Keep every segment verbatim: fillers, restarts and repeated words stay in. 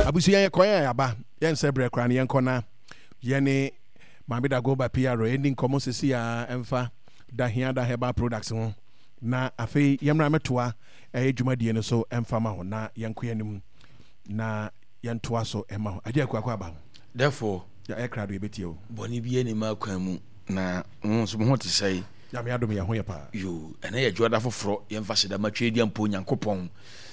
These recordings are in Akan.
Abusua, yɛ kɔn a yɛaba, yɛnsɛ berɛ koraa no, yɛnkɔ na yɛne Maame Dagoba P R ɛni nkɔmmɔ sesi a ɛmfa Dahiada Herbal Products ho, na afei yɛmmra mɛtoa ɛyɛ dwumadie no so ɛmfa ma ho, na yɛnkɔ yɛnim na yɛntoa so ɛma ho agye akuakɔ aba ho. Therefore, yɛ krado, yɛbɛtie o. Bɔne bi anim akwan mu na wo nso mo ho te sɛe? Nyame adom, yɛ ho yɛ paa. Yo, ɛnɛ yɛ dwoada foforɔ. Yɛmfa seda matwa adi ampo Onyankopɔn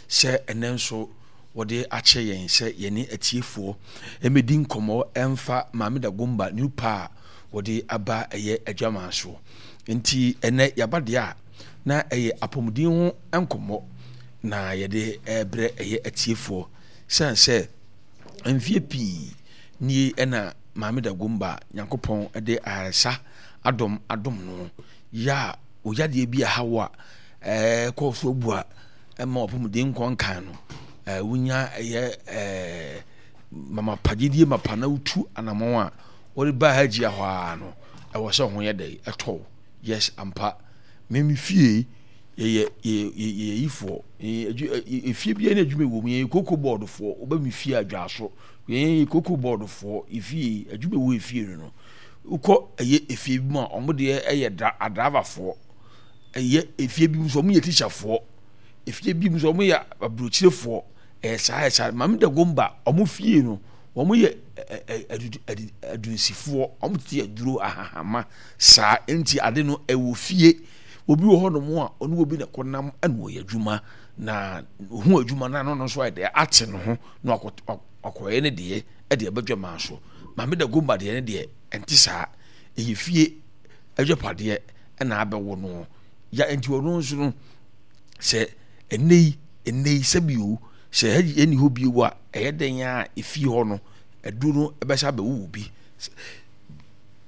sɛ ɛnɛ nso wɔde akyɛ yɛn sɛ yɛne atiefoɔ ɛmɛdi nkɔmmɔ ɛmfa Maame Dagomba new pa a wɔde aba ɛyɛ adwaman soɔ. Nti ɛnɛ yɛaba deɛ a, na ɛyɛ apɔmuden ho nkɔmmɔ na yɛde ɛbrɛ ɛyɛ atiefoɔ, sɛn sɛ mfie pii nie ɛna Maame Dagomba Nyankopɔn de ayaresa adɔm adom no yɛ a, oyadeɛ bi aha wo a ɛɛ kɔɔ so abu a ɛma ɔpɔmuden nkɔ nkan no, ɛɛ wonya ɛyɛ ɛɛ mama pagyedie mapa na wotu anammɔn a wɔde ba ha gyia hɔ ara no, ɛwɔ sɛ ho yɛ dɛ ɛtɔw. Yes, ampa, mimi fie yɛyɛ yɛyɛ yɛyɛ yifoɔ, yɛyɛ efie bi ne adwuma wɔ mu. Yɛyɛ cocoa board foɔ. Woba mi fie adwa so, yɛyɛ cocoa board foɔ. Efie adwuma wɔ efie no no wokɔ ɛyɛ efie bi mu a, wɔn deɛ ɛyɛ dra adravafoɔ. Ɛyɛ efie bi mu nso, wɔn yɛ tikyafoɔ. Efie bi mu nso, wɔn yɛ aburokyirefoɔ. Ɛyɛ saa, ɛyɛ saa. Maame Dagomba wɔn fie no, wɔn yɛ ɛ ɛ ɛ adunsifoɔ. Wɔn tete aduro ahahama saa. Nti ade no ɛwɔ fie. Obi wɔ hɔnom a ɔne obi na ɛkɔnam ɛna ɔyɛ adwuma na ohun adwuma na no nso ayɛ dɛ ate ne ho na wakɔ wakɔyɛ ne deɛ ɛde ɛbɛdwa maa so. Maame Dagomba deɛ, ne deɛ ɛnte saa. Ɛyɛ fie adwapadeɛ ɛna abɛwɔ no ya. Nti ɔno nso no, sɛ ɛnɛ yi ɛnɛ yi sɛbi o, sɛ ɛni hɔ bio a, ɛyɛ dɛn a efie hɔ no aduro no ɛbɛsa abɛwo bi,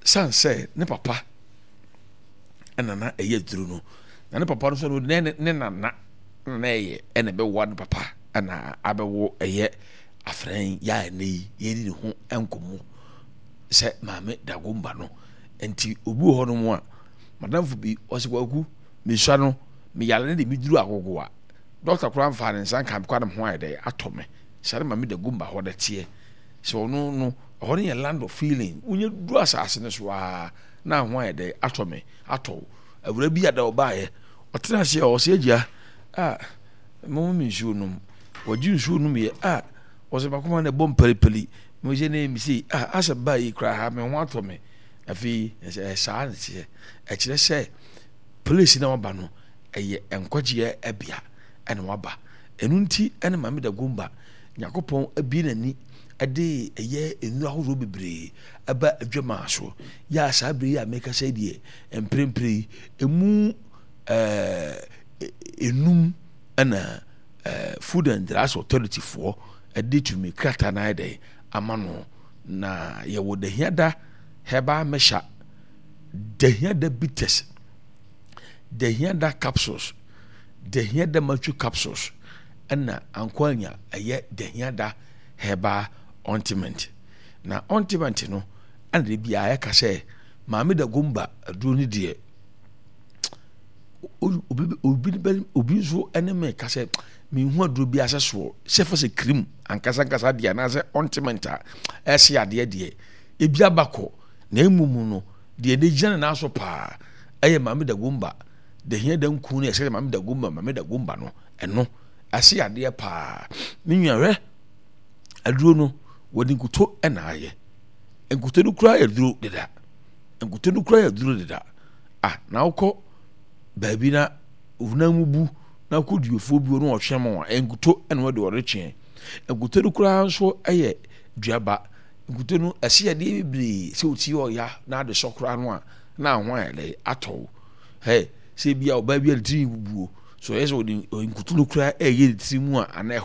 san sɛ ne papa ɛna na ɛyɛ aduro no, na ne papa no nso no ne ne nana na ɛyɛ ɛna ɛbɛwoa ne papa ɛna abɛwo ɛyɛ afrɛn yɛ a ɛnɛ yi yɛdi ne ho nkɔmmɔ sɛ Maame Dagomba no. Nti obi wɔ hɔnom a, madamfo bi ɔsɛ, "Kwaku, mesua no, meyare ne de meduru Agogo a, dɔkta koraa mfa ne nsa nka me koraa na me ho ayɛ dɛ atɔ me." Sare Maame Dagomba hɔ da teɛ sɛ ɔno no, ɛhɔ no yɛ land of feeling. Wonyɛ duru asase no so a, na ho ayɛ dɛ atɔ me atɔ wo. Awura bi ada ɔbaayɛ, ɔtena ase a, ɔsɛ, "Agya a, mo me nsuo nom." Wɔgye nsuo nom yɛ a, ɔsɛ bakoma na ɛbɔ mpalipali mo sɛ ne mi sei a, asɛ baa yi koraa ha me ho atɔ me. Afei ɛsɛ saa ne teɛ. Ɛkyerɛ sɛ place na waba no ɛyɛ nkwagyeɛ ɛbea ɛna waba. Ɛno nti ɛna Maame Dagomba Nyankopɔn abie n'ani ɛde ɛyɛ nnuro ahodoɔ bebree ɛba adwamaa so yɛ a, saa bere yi a meka sɛ deɛ mprempren yi emu ɛɛ enum ɛna ɛɛ Food and Drugs Authority foɔ ɛde tumi krataa na ayɛ dɛ ama no. Na yɛwɔ Dahiada Herbal Mixture, Dahiada Bitters, Dahiada Capsules, Dahiada Machu Capsules, ɛna ankwanya ɛyɛ Dahiada Herbal Ointment. Na ointment no ɛna de biara yɛka sɛ Maame Dagomba aduro no deɛ, obi obi obi nso ɛne me ka sɛ mehu aduro bi asɛ soɔ sɛ fa sɛ cream ankasa ankasa deɛ anaasɛ ointment a ɛsɛ adeɛ deɛ ebi abakɔ. Na emu mu no deɛ ne gyina ne nan so paa ɛyɛ Maame Dagomba Dahiada nku no. Ɛsɛ Maame Dagomba, Maame Dagomba no, ɛno ɛsɛ adeɛ paa. Me nua, hwɛ aduro no, wɔde nkuto ɛna ayɛ. Nkuto no kura yɛ duro deda. Nkuto no kura yɛ duro deda. Ah, na wokɔ baabi na honam mu bu na wokɔ duofoɔ bi no, ɔtwe ma wɔn nkuto ɛna wɔde ɔretwe. Nkuto no koraa nso yɛ duaba. Nkuto no ɛsɛ yadeɛ bebree. Sɛ oti ɔya na ade sɔ koraa no a, na aho ayɛ dɛ atɔ hɛ. Sɛ bi a ɔbaa bi a ne tiri bubuo so, ɛyɛ sɛ ɔde nkuto no koraa ɛyɛ ne tiri mu a anaa ɛhɔ.